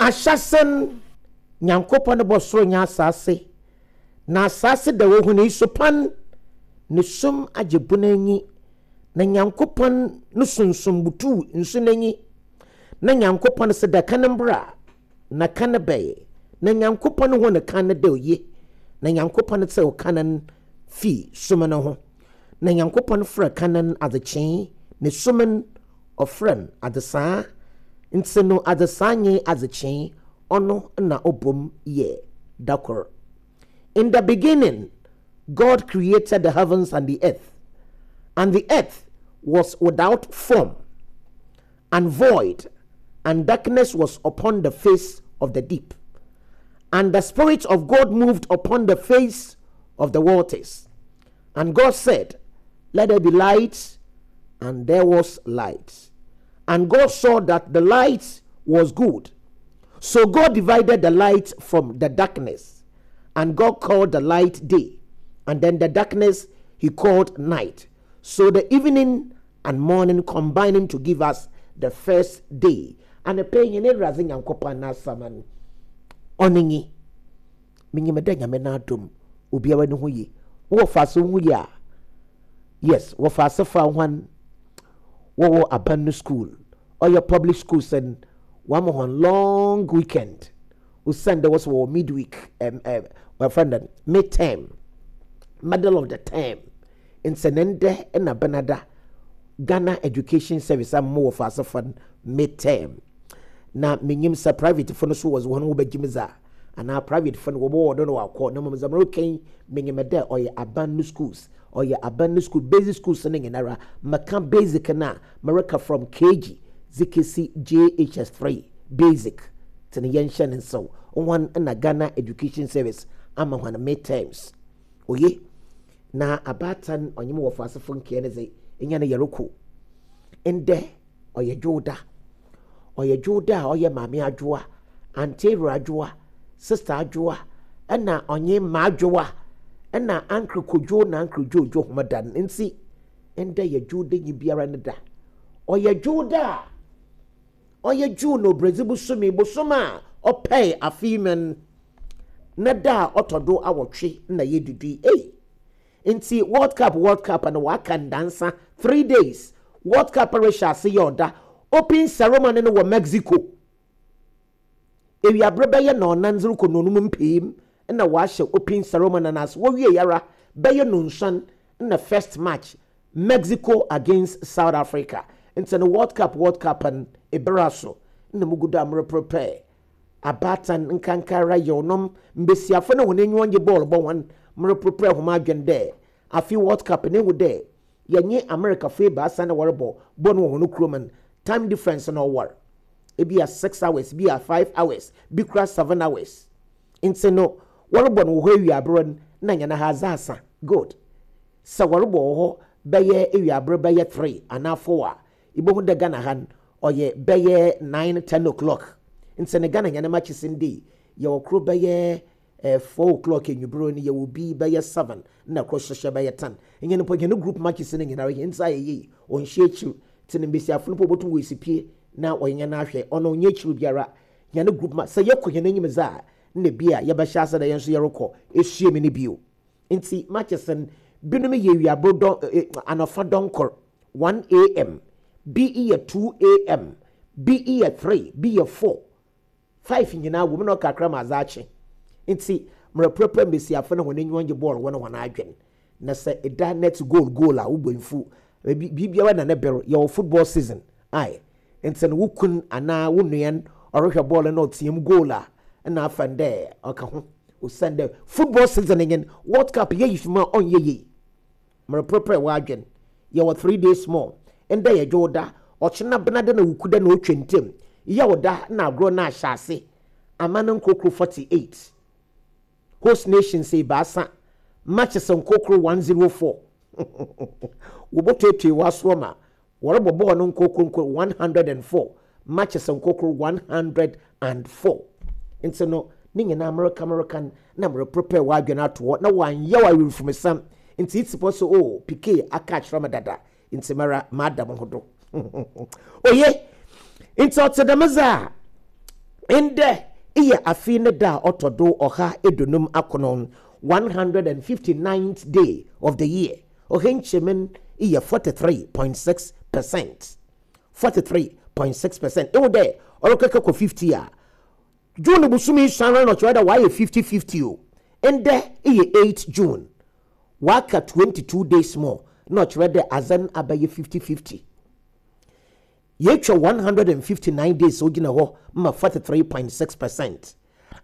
ahyɛse no, Nyankopɔn bɔɔ sor nye asaase, na asaase da ohun nsupan, na sum agye bun enyi, na Nyankopɔn no Sunsum butuuw nsu n'enyi. Na Nyankopɔn se dɛ kan mbra, na kan bae, na Nyankopɔn hun kan no dɛ oye, na Nyankopɔn tseew kan no fii sum no ho. Na Nyankopɔn frɛɛ kan no adzekyee, na sum no, ɔfrɛɛ no adzesaa. Ntsi no adzesaa nye adzekyee, ɔno na ɔbɔ mu yɛ da kor. In the beginning, God created the heavens and the earth, and the earth was without form and void, and darkness was upon the face of the deep. And the Spirit of God moved upon the face of the waters. And God said, Let there be light, and there was light. And God saw that the light was good. So God divided the light from the darkness. And God called the light day, and then the darkness he called night. So the evening and morning combining to give us the first day. Anɔpa yi, hɛn Ewuradze Nyankopɔn n'asɛm no, ɔno nye, Minyim dɛ Nyame n'adom, obiara no ho ye. Wo wɔfaase wo ho ye a? Yes, wɔfaase fa hɔn wɔwɔ aban no skuul, ɔyɛ public schools no, wɔama hɔn long weekend osiandɛ wɔse wɔwɔ midweek, um, um, wɔfrɛ no dɛn, mid-term, middle of the term. Ntsi ne ndɛ na Benada Ghana Education Service ama mo wɔfaase fa no mid-term. Na minyim sɛ private fo no so wɔdze hɔn ho bɛgye mu dze a, anaa private fo no wɔbɔwɔ do na wɔakɔ, na mbom dza mereka yi minyim dɛ ɔyɛ aban no schools, ɔyɛ aban no school, basic schools no nyinara, mekã basic no a, mereka from KG dze kesi JHS 3 basic, ntsi no yɛnhyɛ no nsew, hɔn na Ghana Education Service ama hɔn mid-terms. Oye, na abaatan ɔnye mo wɔfaasefo nkaa no dze, enya no yɛrokɔ. Ndɛ ɔyɛ Dwowda. Ɔyɛ Dwowda a ɔyɛ Maame Adwoa, Auntie Awura Adwoa, Sister Adwoa, nna ɔnye M'Adwoa, nna Uncle Kojo na Uncle Jojo hom da no ntsi, ndɛ yɛ Dwowdanyi biara ne da. Ɔyɛ Dwowda a ɔyɛ June Obiradzi bosome, bosoom a ɔpɛe afe yi mu no ne da a ɔtɔ do awɔtwe na yedudu yi. Ei! Ntsi World Cup World Cup no wɔaka ndaansa, 3 days, World Cup rehyɛ ase yɛ ɔda. Open ceremony no wɔ Mexico. Ewiaber bɛyɛ nɔɔnan dze rokɔ nɔnum mpaa na wɔahyɛ open ceremony no ase. Wowiei ara bɛyɛ nonsuon na first match Mexico against South Africa. Ntsi no World Cup World Cup no eber aso na mugu do a mereprepare abaatan nkankara yewnom mbasiafo na hɔn enyiwa nngye bɔɔl bɔ hɔn mereprepare hom adwen dɛ afe World Cup no ehu dɛ yɛnye Americafo ebiasa na wɔrobɔ bɔɔl no wɔ hɔn kurom no time difference no ɔwar ebi a 6 hours, bi a 5 hours, bi koraa 7 hours. Ntsi no wɔrobɔ no wɔ hɔ ewiaber no na hɛn ha adze asa. Good. Sɛ wɔrobɔ wɔ hɔ bɛyɛ ewiaber bɛyɛ 3 anaa 4 a, ibohu dɛ Ghana ha no ɔyɛ bɛyɛ 9, 10 o'clock. Ntsi no Ghana hɛn matches ndɛ yɛwɔ kor bɛyɛ 4 o'clock ewimbir no, yɛwɔ bi bɛyɛ 7 na kor so hyɛ bɛyɛ 10. Hɛn mpo hɛn group matches no nyinara hɛn nsa ayɛ yie, ɔnnhyɛ ekyir. Ntsi no mbasiafo no mpo wobotum woesi pie na wɔnye hɛn ahwɛ, ɔno ɔnnyɛ ekyir biara. Hɛn group ma sɛ yɛkɔ hɛn enyim dze a, nna bi a yɛbɛhyɛ ase dɛ hɛn so yɛrokɔ esua mu no bio. Ntsi matches no binom yɛ ewiaber dɔn anɔfa dɔnkor 1 a.m., bi yɛ 2 a.m., bi yɛ 3, bi yɛ 4, 5 nyinaa wɔ mu na ɔkakra ma adze akye. Ntsi mereprepare mbasiafo no hɔn enyiwa ngye bɔɔl wɔ no hɔn adwen. Na sɛ eda net goal goal a wo bo mmfuw. Biribiara na ne ber, yɛwɔ football season ae. Ntsi no wo kun anaa wo nua no ɔrohwɛ bɔɔl no na ɔtsia mu goal a, nna afa no dɛ ɔka ho. Osiandɛ football season nye no, World Cup yeyi fi mu a ɔnnyɛ yie. Mereprepare w'adwen. Yɛwɔ 3 days more. Ndɛ yɛ Dwowda, ɔkyena Benada na Wukuda na otwa ntamu. Yawda na agorɔ no ahyɛ ase. Aman nkorkor 48. Host nations ebiasa, matches nkorkor 104. Wobotuetue w'asowa ma wɔrobɔ bɔɔl no nkorkor nkor 104, matches nkorkor 104. Ntsi no ne nyinaa mereka mereka no na mereprepare w'adwen ato hɔ na wɔannyɛ wo awerɛfumsɛm. Ntsi itsi pɔ sɛ oh Piqué aka akyerɛ me dada ntsi mara mada mo ho do. Oye, ntsi ɔtse dɛm dze a, Ndɛ eyɛ afe ne da a ɔtɔ do 159 akron, 159th day of the year. Ɔha nkyɛmu no eyɛ 43.6%. 43.6%. Ehu dɛ ɔrekɛkɛ kɔ 50 a, June bosoom yi suara na ɔkyerɛ dɛ ɔayɛ 50-50 o. Ndɛ eyɛ 8 June. Wɔaka 22 days more na ɔkyerɛ dɛ adze no abɛyɛ 50-50. Yeetwa 159 days a ogyina hɔ ma 43.6 percent.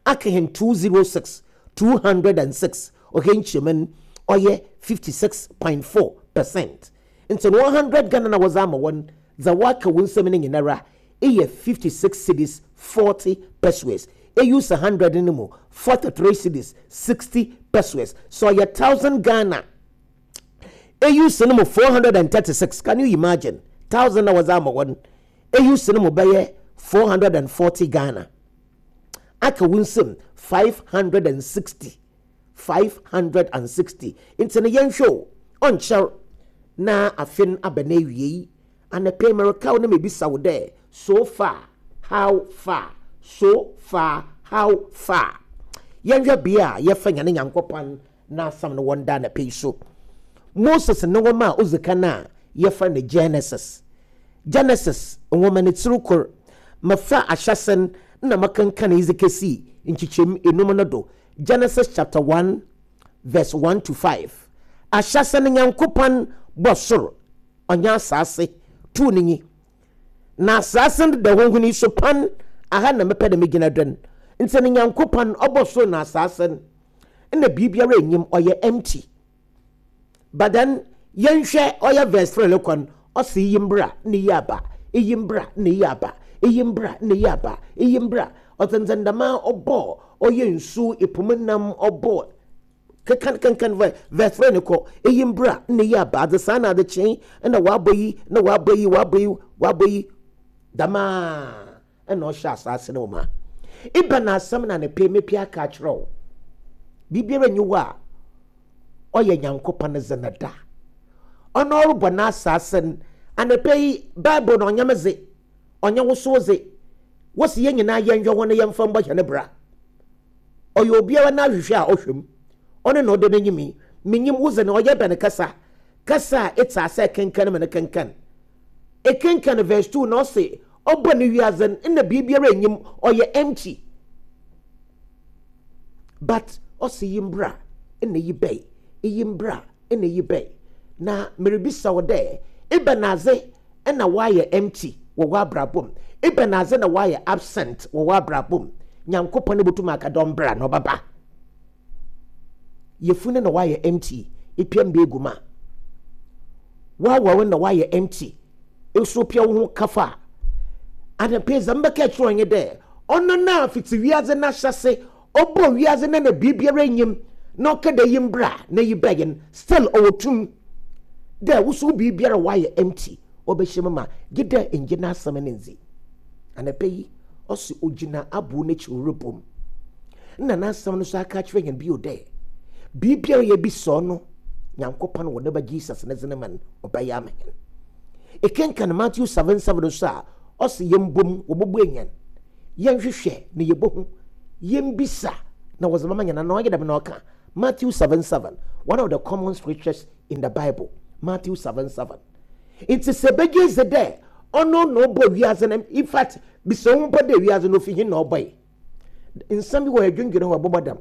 Aka hɛn 206, 206, ɔha nkyɛmu no ɔyɛ 56.4 percent. Ntsi no 100 Ghana na wɔdze ama hɔn, dza wɔaka wo nsamu no nyinara eyɛ 56 cedis 40 pesewas. Euse 100 no mu 43 cedis 60 pesewas. Sɛ ɔyɛ 1000 Ghana Eyi sen mo 436, can you imagine? Thousand na wɔdze ama hɔn. Eyi sen mo bɛyɛ 440 Ghana. Aka wo nsam 560. 560. Ntsi no yɛnhwɛ o, ɔnnkyɛr na afe no aba n'ewiei. Anapa yi mereka wo na mebisa wo dɛ, so far, how far? So far, how far? Yɛnhwɛ bea a yɛfa hɛn Nyankopɔn n'asɛm no wɔ ndɛ anapa yi so. Moses no nwoma a odzi kan a yɛfrɛ no Genesis. Genesis nwoma ne tsir kor. Mefaa ahyɛse no na mekenkanee dze kesii nkyekyɛmu enum no do. Genesis chapter 1 verse 1 to 5. Ahyɛse no Nyankopɔn bɔɔ sor ɔnye asaase, tuu no nyi. Na asaase no da hɔ hun yi so pan, aha na mepɛ dɛ migyina do no. Ntsi no Nyankopɔn ɔbɔɔ sor na asaase no, nna biribiara nnyim, ɔyɛ empty. But then yɛnhwɛ ɔyɛ verse 3 no kɔ no, ɔse iyi mbra na iyi aba, iyi mbra na iyi aba, iyi mbra na iyi aba, iyi mbra. Ɔtsentsen dɛm ara ɔbɔɔ ɔyɛ nsu, po mu nam, ɔbɔɔ Kenkan kenkan verse 3 no kɔ. Iyi mbra na iyi aba, adzesaa na adzekyee na wɔabɔ yi na wɔabɔ yi wɔabɔ yi wɔabɔ yi. Dɛm ara na ɔhyɛ asaase no ma. Ebɛn asɛm na anapa yi mepɛ aka akyerɛ wo? Biribiara nnyi hɔ a ɔyɛ Nyankopɔn dze no da. Ɔno ɔrobɔ n'asaase no, anapa yi Bible no ɔnnyɛ me dze, ɔnnyɛ wo so wo dze. Wose yɛn nyinaa yɛnhwɛ ho na yɛmfa mbɔ hɛn bra. Ɔyɛ obiara n'ahwehwɛ a ɔhwɛ mu. Ɔno na ɔda n'enyim yi. Minyim wo dze no, ɔyɛ bɛn kasa? Kasa a etse ase ekenkan ma no kenkan. Ekenkan verse 2 na ɔse, Ɔbɔɔ no wiadze no, nna biribiara nnyi mu, ɔyɛ empty. But ɔse yi mbra na yi bɛe, iyi mbra na iyi bɛe. Na miribisa wo dɛ, ebɛnadze na wɔayɛ empty wɔ w'abrabɔ mu? Ebɛnadze na wɔayɛ absent wɔ w'abrabɔ mu? Nyankopɔn botum aka dɛ ɔmbra na ɔbɛba. Yafunu na wɔayɛ empty, epia mba egu mu a. W'awar na wɔayɛ empty, eso pia woho kafa a. Anapa yi dza mebɛka akyerɛ wo nye dɛ, ɔno na fitsi wiadze n'ahyɛse Ɔbɔɔ wiadze na na biribiara nnyi mu na ɔka dɛ yi mbra na yi bɛyɛ no, still ɔwɔ tum dɛ wo so wo biribiara a ɔayɛ empty ɔbɛhyɛ mu ma gyedɛ nngye n'asɛm no nndzi. Anapa yi, ɔse ogyina abow n'ekyir robɔ mu. Nna n'asɛm no so aka akyerɛ hɛn bio dɛ biribiara a yebisa ɔno Nyankopɔn wɔ ne Ba Jesus ne dzin mu no, ɔbɛyɛ ama hɛn. Ekenkan Matthew 7:7 so a, ɔse yɛmbɔ mu, wɔbɔbue hɛn. Yɛnhwehwɛ na yebohu, yɛmbisa na wɔdze bɛma hɛn. Ana ɔnnyɛ dɛm na ɔkã? Matthew 7:7, one of the common scriptures in the Bible. Matthew 7:7. Ntsi sɛ ebɛgye edzi dɛ ɔno na ɔbɔɔ wiadze no, in fact, bisa woho mpo dɛ wiadze no ofi hen na ɔbɔe? Nsɛm bi wɔ hɔ edwendwen ho a ebɔbɔ dam.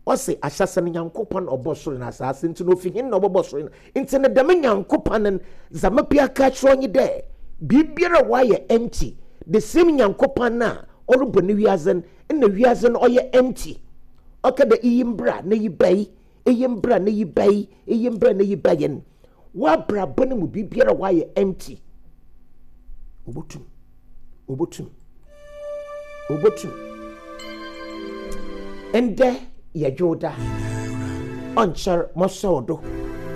Ɔse ahyɛse no Nyankopɔn na ɔbɔɔ sor na asaase, ntsi no ofi hen na ɔbɔbɔɔ sor na Ntsi no dɛm Nyankopɔn no dza mepɛ aka akyerɛ wo nye dɛ biribiara a ɔayɛ empty, the same Nyankopɔn no a ɔrobɔ no wiadze no, nna wiadze no ɔyɛ empty. Ɔka dɛ iyi mbra na iyi bɛe, iyi mbra na iyi bɛe, iyi mbra na iyi bɛe no, w'abrabɔ no mu biribiara a ɔayɛ empty, obotum. Obotum. Obotum. Ndɛ yɛ Dwowda. Ɔnnkyɛr mɔsɔw do.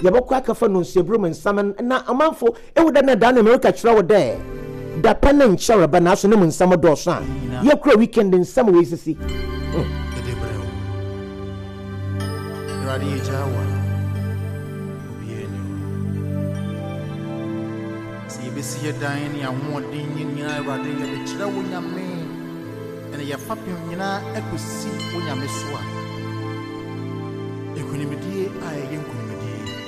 Yɛbɔkɔ akɛfa Nonsiabur mu nsɛm no na ɔmanfo ehu dɛ nna da no mereka kyerɛ wo dɛ dapɛn no nnkyɛr reba naaso no mu nsɛm dɔɔ sõ a yɛkura weekend nsɛm oesisi. Hmm. Yɛde brɛ wo. Awurade yɛgyaa wo a, obiara nni hɔ. Sɛ yɛbɛsi yɛ dan ne ahoɔden nyinaa Awurade yɛde kyerɛ wo Nyame. Ɛne yɛn fapem nyinaa akɔsi wo Nyame so a.